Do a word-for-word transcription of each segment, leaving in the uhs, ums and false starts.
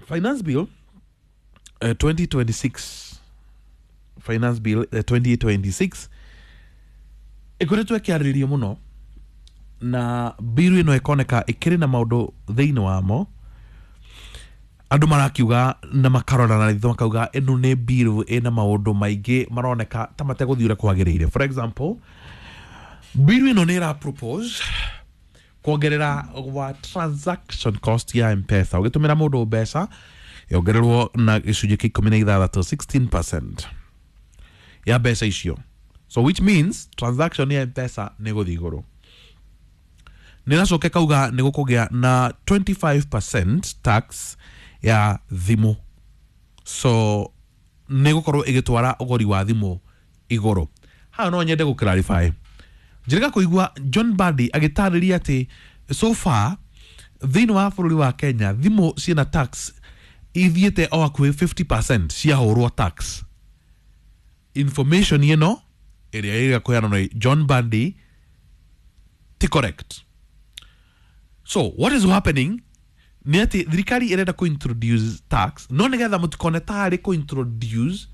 Finance Bill uh, twenty twenty-six, Finance Bill uh, twenty twenty-six ĩkoretwo ĩkĩarĩrĩrio mũno, na bill ĩno ĩkoneka ĩkĩrĩ na maũndũ thĩinĩ wamo andũ marakiuga na makarora na ritho makauga ĩno nĩ bill ĩna maũndũ maingĩ maroneka ta mategũthiĩ ũrĩa kwagĩrĩire. For example, bill ĩno nĩ ĩra propose kuongerera gwa transaction cost ya M-Pesa. Ũgĩtũmĩra mũndũ mbeca yongererwo na gĩcunjĩ kĩa ikũmi na ithathatũ, sixteen percent ya mbeca icio. So which means transaction ya M-Pesa nĩ gũthiĩ igũrũ. Nĩ ĩracoka ĩkauga nĩ gũkũgĩa na twenty-five percent tax ya thimũ, so nĩ gũkorwo ĩgĩtwara ũgũri wa thimũ igũrũ. Haha no nyende gũ clarify. Njĩrĩga kũigua John Mbadi agĩtarĩria atĩ so far thĩinĩ wa bũrũri wa Kenya thimũ ciĩna tax ithiĩte o hakuhĩ fifty percent ciahũrwo tax. Information ĩno ĩrĩa ĩrĩa kũheanwo nĩ John Mbadi ti correct. So what is happening nĩ atĩ thirikari ĩrenda kũ introduce tax, no nĩgetha mũtikone tarĩ kũ introduce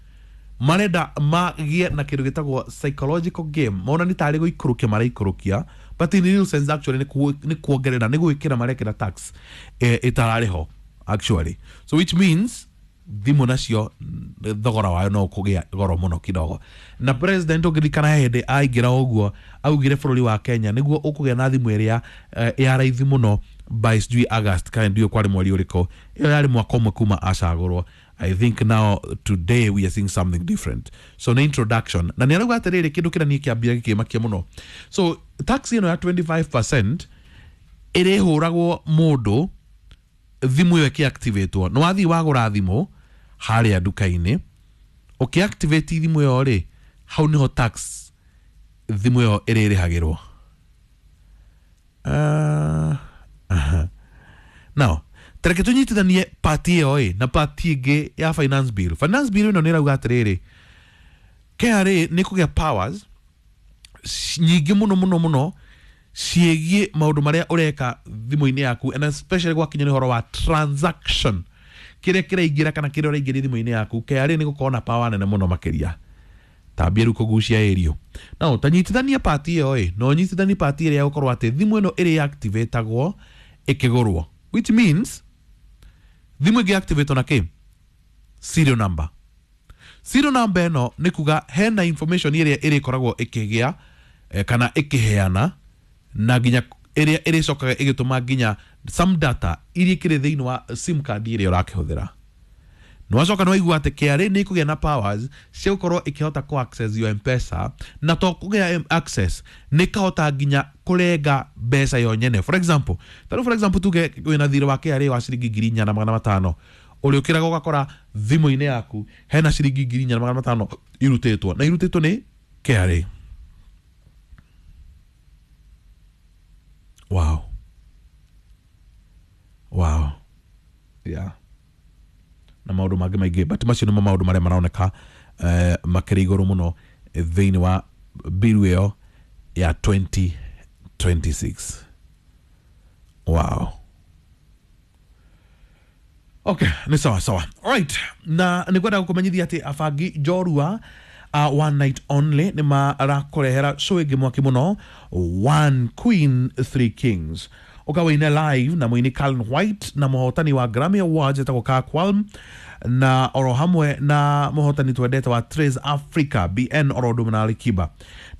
marenda magĩe na kĩndũ gĩtagwo psychological game, mona nĩ tarĩ gũikũrũkia maraikũrũkia, but in real sense actually nĩ ku- nĩ kuongerera, nĩ gwĩkĩra marekĩra tax eh, ĩtararĩ ho actually. So which means thimũ nacio mm, thogora wayo no ũkũgĩa goro mũno kidogo. Na president, ũngĩririkana hĩndĩ aingĩra ũguo, augire bũrũri wa Kenya nĩguo ũkũgĩa na thimũ ĩrĩa eh, ya raithi mũno by sijui August kana ndiũĩ kwarĩ mweri ũrĩkũ. Ĩyo yarĩ mwaka ũmwe kuma acagũrwo. I think now today we are seeing something different. So nĩ introduction na nĩ arauga atĩrĩrĩ, kĩndũ kĩrĩa niĩ kĩambia gĩkĩmakia mũno, so tax ĩno ya twenty-five percent ĩrĩhũragwo mũndũ thimũ ĩyo ĩkĩactivatwo. Nĩ wathiĩ wagũra thimũ harĩa nduka-inĩ, ũkĩactivate thimũ ĩyo rĩ, hau nĩho tax thimũ ĩyo ĩrĩrĩhagĩrwo. uh, uh, now tareke tũnyitithanie part ĩyo ĩ na part ĩngĩ ya finance bill. Finance bill ĩno nĩ ĩrauga atĩrĩrĩ, K R A nĩ kũgĩa powers nyingĩ mũno mũno mũno ciĩgiĩ maũndũ marĩa ũreka thimũ-inĩ yaku, and especially gwakinya nĩ ũhoro wa transaction, kĩrĩa kĩraingĩra kana kĩrĩa ũraingĩria thimũ-inĩ yaku. K R A nĩ gũkorwo na power nene mũno makĩria. Tambia rĩu kũgucia ĩrio no tanyitithania part ĩyo ĩ no ũnyitithanie part ĩrĩa ya gũkorwo atĩ thimũ ĩno ĩrĩ activatagwo ĩkĩgũrwo, which means thimũ ĩngĩ activate na kĩ serial number. Serial number ĩno nĩ kuga hena information ĩrĩa ĩrĩkoragwo ĩkĩgĩa eh, kana ĩkĩheana na nginya ĩrĩa ĩrĩcokaga ĩgĩtũma nginya some data iria ikĩrĩ thĩinĩ wa SIM card ĩrĩa ũrakĩhũthĩra. Nĩ wacoka nĩ waigua atĩ K R A nĩ ĩkũgĩa na powers cia gũkorwo ĩkĩhota kũ access your M-Pesa, na to kũgĩa access, nĩ ĩkahota nginya kũrenga mbeca yo nyene. For example, tarĩu for example tuge wĩna thirĩ wa K R A wa ciringi ngiri inya na magana matano, ũrĩũkĩraga ũgakora thimũ-inĩ yaku hena ciringi ngiri inya na magana matano irutĩtwo, na irutĩtwo nĩ K R A. Wow wow yeah, na maũndũ mangĩ maingĩ, but macio nĩmo maũndũ marĩa maroneka eh, makĩrĩ igũrũ mũno thĩinĩ wa bill ĩyo ya twenty twenty-six. Wow, okay, nĩ sawa sawa. Alright, na nĩ ngwenda gũkũmenyithia atĩ abangi njorua uh, One Night Only nĩ marakũrehera show ĩngĩ mwaki mũno, One Queen Three Kings, ũkawĩine live na mũini Calvin White na mũhotani wa Grammy Awards etagwo Kirk Whalum, na oro hamwe na mũhotani twendete wa Trace Africa B N, oro ũndũ na Alikiba.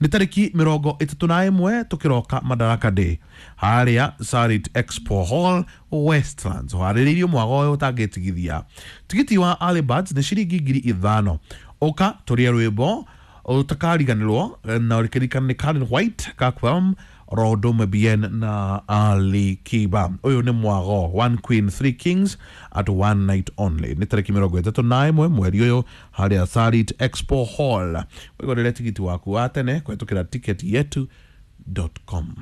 Nĩ tarĩki mĩrongo ĩtatũ na ĩmwe tũkĩroka Madaraka Day harĩa Sarit Expo Hall, Westlands. Harĩrĩirio mwago ũyũ ũtangĩtigithia. Tigiti wa early birds nĩ ciringi ngiri ithano. Ũka tũrĩe rwĩmbo ũtakariganĩrwo na ũrĩkĩririkana nĩ Karen White, Kakwam, Rodome B N na Ali Kiba. Ũyũ nĩ mwago One Queen Three Kings at One Night Only, nĩ tarĩki mĩrongo ĩtatũ na ĩmwe mweri ũyũ harĩa Sarit Expo Hall. Wĩgũrĩre tigiti waku wa tene kũhetũkĩra ticket yetu dot com.